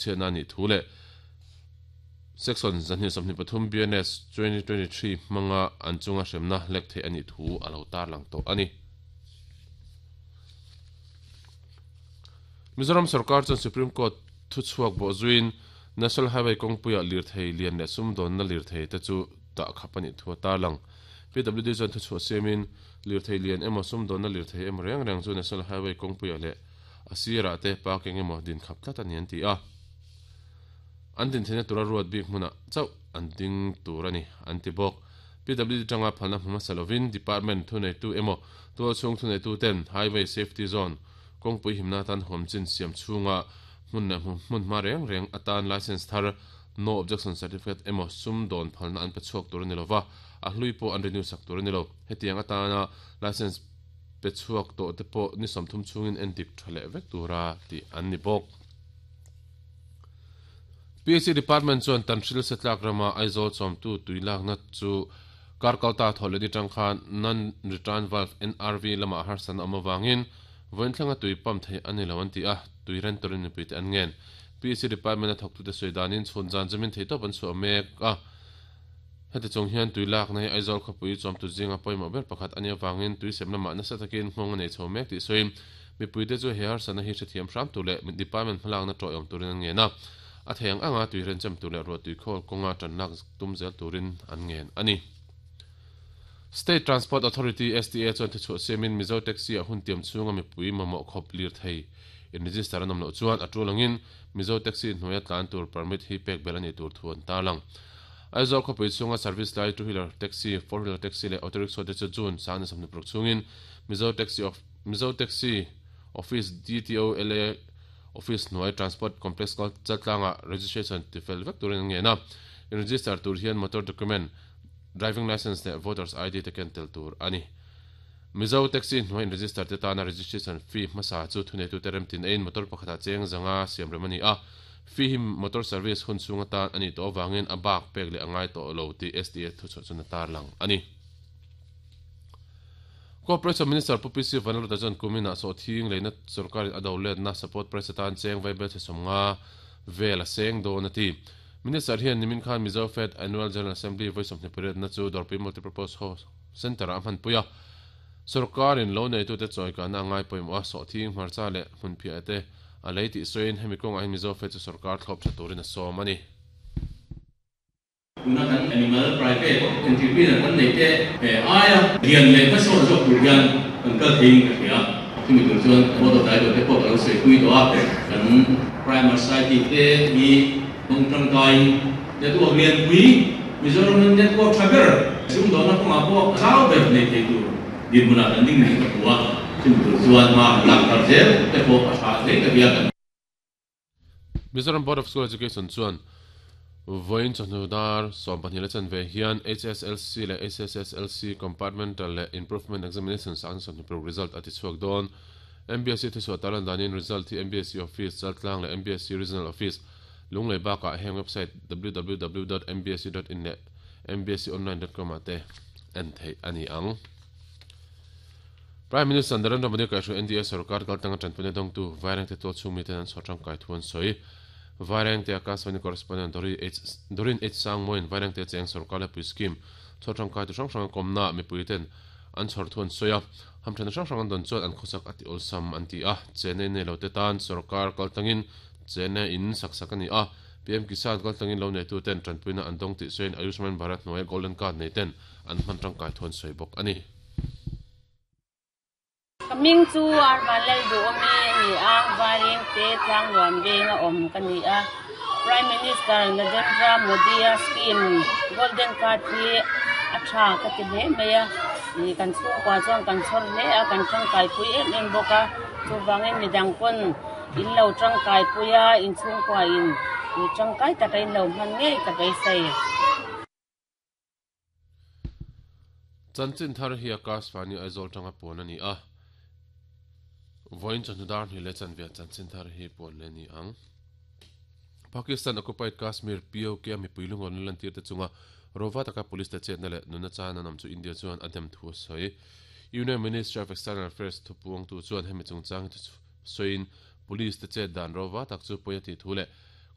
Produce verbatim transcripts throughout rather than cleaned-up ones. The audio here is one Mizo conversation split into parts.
Chhiatna a nih thu leh Section zahnih sawmhnih pathum B N S twenty twenty three hmanga an chunga hremna lek theih a nih thu a lo tarlang tawh a ni. Mizoram sarkar chuan Supreme Court thuchhuak bawh zuiin National Highway kawngpuiah lirthei lian leh sumdawnna lirthei te chu dah khap a nih thu a tarlang. P W D chuan thuchhuah siamin lirthei lian emaw sumdawnna lirthei emaw reng reng chu National Highway kawngpuiah leh a sirah te parking emaw din khap tlat a ni an ti a. An din theihna tura ruat bik hmunah chauh an ding tur a ni an ti bawk. P W D tanga phalna hmu hmasa lovin Department thuneitu emaw tualchhung thuneitu ten Highway Safety Zone kawngpui himna atan huamchin siam chhunga hmun leh hmun hma reng reng atan license thar No Objection Certificate emaw sum dawn phalna an pe chhuak tur a ni lova, a hlui pawh an renew sak tur a ni lo. Hetiang atana license pe chhuak tawh te pawh ni sawmthum chhungin en dik tha leh vek tura tih an ni bawk. P H C Department chuan Tanhril Setlak rama Aizawl chawmtu tui lakna chu Karkalta thawh leh ni tang khan Non-Return Valve N R V lamah harsatna awm avangin vawiin thlenga tui pump theih a ni lo an ti a, tui ren turin mipui te an ngen. P H C Department a thawktute sawi danin chhun zan zamin thei tawp an chhuah mek a. Heti chung hian tui lakna hi Aizawl khawpui chawmtu zinga pawimawh ber pakhat a nih avangin tui sem lamah nasa takin nghawng a nei chho mek tih sawiin mipuite chu he harsatna hi hrethiam hram tur leh department hmalakna tawih awm turin an ngen a. A thei ang anga tui renchem tur leh ruah tui khawl kawnga tanlak tum zel turin an ngen a ni. State Transport Authority S T A chuan thuchhuah siamin Mizo Taxi a hun tiam chhunga mipui mamawh khawp lir thei in register an awm loh chuan a tul angin Mizo Taxi hnuaia tlan tur permit hi pek bel a nih tur thu an tarlang. Aizawl khawpui chhunga service lai two wheeler taxi, four wheeler taxi leh auto rickshaw te chu June sang ni sawmhnih paruk chhungin Mizo Taxi of Mizo Taxi Office D T O L A Office hnuai Transport Complex Chaltlanga registration tifel vek turin an ngen a. In register tur hian motor document, driving license leh voters I D te ken tel tur a ni. Mizo Taxi hnuai in register te tana registration fee hmasa chu thuneitu te remtin eiin motor pakhatah cheng zanga siam rem a ni a. Fee hi motor service hun chhung atan a nih tawh avangin a bak pek leh a ngai tawh lo tih S T A thuchhuah chuan a tarlang a ni. Corporation Minister Pu P C Vanlalruta chuan kuminah sawhthing leina sorkarin a do letna support price atan cheng vaibel chhe sawmnga vel a seng dawn a ti. Minister hian nimin khan Mizo Fed Annual General Assembly vawi sawmhnih pariatna chu Dawrpui Multipurpose Hall Centre-ah a hmanpui a. Sorkarin lo neitute chawikahna a ngai pawimawh a, sawhthing hmarcha leh hmunphiah te a lei tih sawiin hemi kawngah hian Mizo Fed chu sorkar thlawp tha turin a sawm a ni. Tuna kan animal private entrepreneur kan nei te aia lian leh hmasawn zawk tur hian kan kal theiin ka hria. Chumi tur chuan board of director te pawh ka lo sawi pui tawh a, kan Primary Society te hi kawng tangkaiin network lianpui Mizoram network tha ber sumdawhna kawngah pawh zau ber nei thei tur dinhmunah kan ding nih ka hmu a, chumi tur chuan hma kan lak thar zel te pawh a tha hle ka hria kan. Mizoram Board of School Education chuan vawiin chawhnu dar sawm pahnih la chan ve hian H S L C leh H S S L C Compartmental leh Improvement Examination sang sawmhnih paruk result a ti chhuak dawn. M B S C thuchhuah tarlan danin result hi M B S C Office Chaltlang leh M B S C Regional Office Lunglei bakah heng website w w w dot m b s c dot in leh m b s c online dot com ah te en theih a ni ang. Prime Minister Narendra Modi kaihhruai N D A sarkar kaltanga tanpuina dawngtu Vairengte tual chhung miten an chhuah tangkai thu an sawi. Vairengte Akashvani correspondent Dori H Dorin H Sangmoin Vairengte cheng sarkar lepui scheme chhuah tangkai tu hrang hrang a kawmna mipui ten an chhawr thu an sawi a. Hamthana hrang hrang an dawn chuan an khawsak a ti awlsam an ti a. Chennai nei lo te tan sarkar kaltangin Chennai in sak sak a ni a. P M Kisan kaltangin lo neitu ten tanpuina an dawng tih sawiin Ayushman Bharat hnuaia Golden Card nei ten an hman tangkai thu an sawi bawk a ni. Ka ming chu Arvan Lal Duhawmi a ni a, Vairengte Tlangnuam veng a awm ka ni a. Prime Minister Narendra Modi a scheme Golden Card hi a tha ka ti hle mai a. Kan chhungkua chuan kan chhawr hle a, kan tangkaipui em em bawk a. Chuvangin midang pawn in lo tangkaipui a, in chhungkua in tangkai taka in lo hman ngei ka beisei. Chanchin thar hi Akashvani Aizawl tanga puan a ni a. Vawiin chawhnu dar hnih leh chanve chanchin thar hi puan leh ni ang. Pakistan occupied Kashmir P O K a mipui lungawn la lantir te chunga rova taka police te chetna leh nunna chan an awm chu India chuan a dem thu a sawi. Union Ministry of External Affairs thupuangtu chuan hemi chungchang hi sawiin police te chet dan rova tak chu pawi a tih thu leh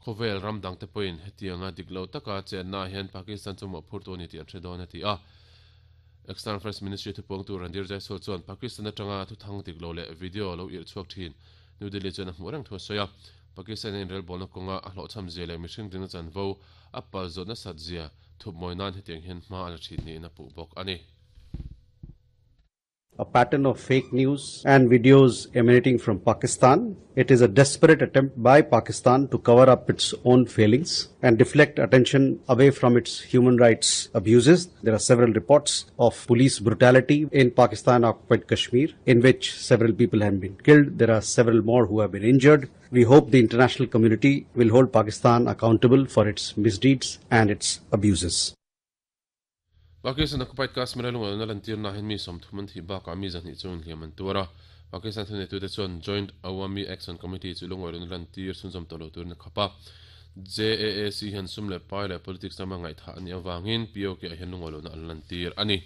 Khovel ram dang te point hetianga diklo taka chenna hian Pakistan chu mo phurtu ni ti an thredon ati a. External Affairs Ministry thu pawng tu Randir Jaiswal chuan Pakistan atanga thu thang diklo le video lo ir chuak thin New Delhi chuan a hmu reng thu soya. Pakistan in rel bolna konga a hlo cham zia le mihring ding chan vo a pal zot na sat zia thup moinan hetiang hian hma ala thin ni na pu bok ani. A pattern of fake news and videos emanating from Pakistan. It is a desperate attempt by Pakistan to cover up its own failings and deflect attention away from its human rights abuses. There are several reports of police brutality in Pakistan-occupied Kashmir, in which several people have been killed. There are several more who have been injured. We hope the international community will hold Pakistan accountable for its misdeeds and its abuses. Pakistan occupied Kashmir lunga na lantir na hin mi som thuman thi ba ka mi zan hi chun hliam an tura. Pakistan thune tu te chuan Joint Awami Action Committee chu lunga lun lantir sun zom tolo tur na khapa. J A A C hian sum le pai le politics lama ngai tha ani awangin P O K a hian lunga lun an lantir ani.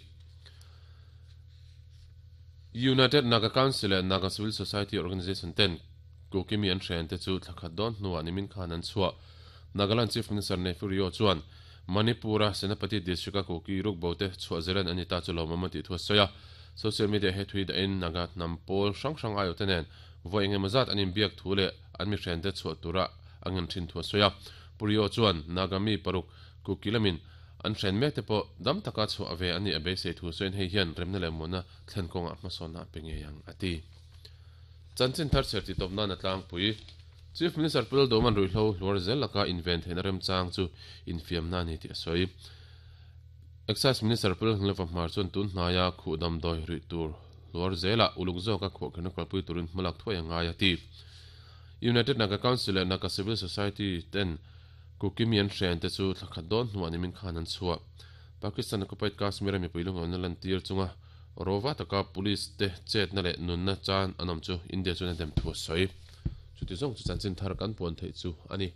United Naga Council and Naga Civil Society Organization ten Kokimi an hren te chu thlakhat don hnuah nimin khan an chhuah. Nagaland Chief Minister Neiphiu Rio chuan Manipura Senapati district a Kuki ruk bote chhuah zelan ani ta chu lo mamati thu soya. Social media he thui da in Naga nampol hrang hrang ayo tenen voi enge mazat anin biak thu le an mi hren te chhuah tura angan thin thu soya. Purio chuan Nagami paruk Kuki lamin an hren mek te po dam taka chhuah ave ani abe sei thu soin hei hian remna le mona thlen konga hmasona penge yang ati. Chanchin thar cherti topna na tlang pui Chief Minister Pul Doman Ruihlo Luar zel laka invent hen rem chang chu infiam na ni ti soi. Excise Minister Pul Ngleva Hmar chuan tun hnaya khu dam doi ri tur Luar zela uluk zo ka kho khenu kalpui turin hmalak thoi anga ya ti. United Naga Council and Naga Civil Society ten Kukimian hren te chu thlakhat don hnuah nimin khan an chhuah. Pakistan occupied Kashmir mi puilung an lan tir chunga rova taka police te chet na le nun na chan anam chu India chu na dem thu soi. Chuti zong chu chanchin thar kan puan thei chu ani.